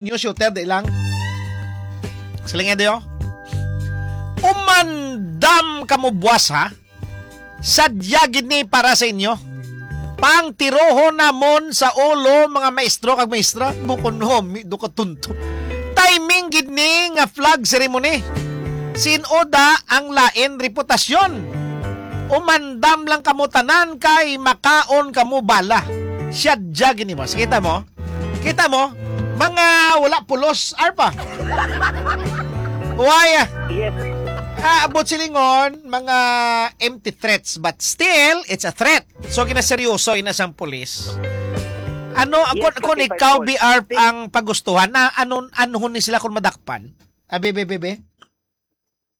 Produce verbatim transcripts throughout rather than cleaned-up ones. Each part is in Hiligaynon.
New shooter, di lang. Siling niya, Dio. Umandam kamo buwas, ha? Sadya gid ni para sa inyo. Pangtirohon namon sa ulo, mga maestro kag maestra. Bukon ho, mi, do ka tunto. Timing gid ni nga flag ceremony. Sin-oda ang lain reputasyon. Umandam lang kamo tanan kay makaon kamo bala. Sadya gid ni, boss. Kita mo? Kita mo? Mga wala pulos, arpa. Why? Ah, Yes. Ah, abot silingon, mga empty threats, but still, it's a threat. So, ginaseryoso ina sang pulis. Ano, Yes, kung, kung Captain ikaw, Paul. B R, ang pagustuhan, na anon, anhon ni sila kung madakpan? Abi, be, be, be?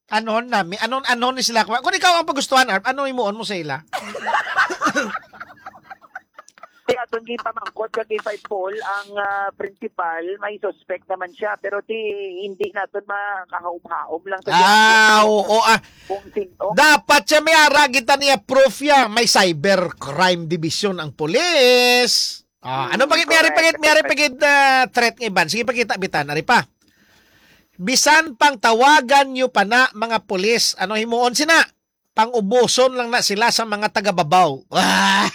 Anhon nami, anon, anhon ni sila? Kung ikaw ang pagustuhan, Arp, ano imuon mo sa ila? Kaya atong gipamangkot kag kay Five Paul ang ah, principal, may suspect naman siya, pero ti hindi naton makahaom-haom lang sa Ah, oo, ah. Kung sino. Dapat siya may ara kita niya proof ya. May cyber crime division ang pulis. Ah, ano pagit may ari pagit may ari pagit ah, threat nga iban? Sige, pakita bitan, ari pa. Bisan pang tawagan nyo pa na mga pulis, ano himuon sina? Pang-ubuson lang na sila sa mga taga-babaw. Ah!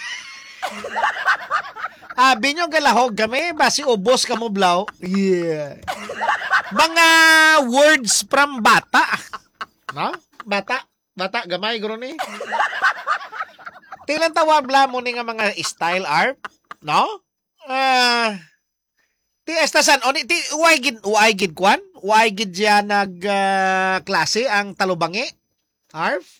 Abi nyo galahog kami, basi ubos ka mo blaw. Yeah. Mga words from bata. No? Bata, bata gamay guro ni. Tilang tawag bla mo ni nga mga style art, no? Ah, ti esta san oni ti uay gid uay gid kwan? Uay gid siya nag ah, klase ang talubangi? Arf?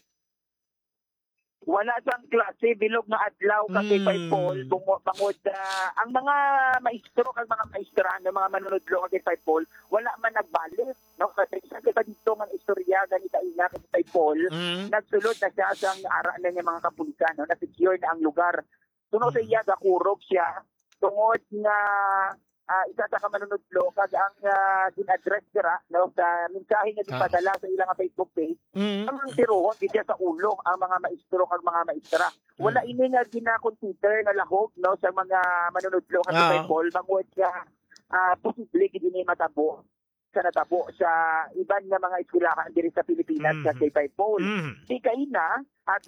Wala sang klase bilog nga adlaw kag kay Mm. Paul bungo bangod ah, ang mga maestro kag mga maestra, no, mga manunudlo kag kay Paul, wala man nagbalik, no? Kasi isa kita dito nga istorya gani kaina kay Paul, Mm. nagsulod na siya sang ara na niya mga kapulisan, no? Na-secure na ang lugar. Suno sa Mm. iya, gakurog siya tungod nga ah, isa sa ka manunudlo kag ang ah, gin-address dira, no, sa mensahe nga Ah. gipadala sa ilang Facebook page, Mm. ang tirohon gid siya sa ulo ang mga maestro kag mga maestra. Wala Mm. ini nga gina-consider nga lahog, no, sa mga manunudlo kag Ah. Paul bangod nga ah, posible gid ini matabo sa natabo sa iban nga mga eskwelahan diri sa Pilipinas Mhm. kag kay Paul. Mm. Di kaina, ato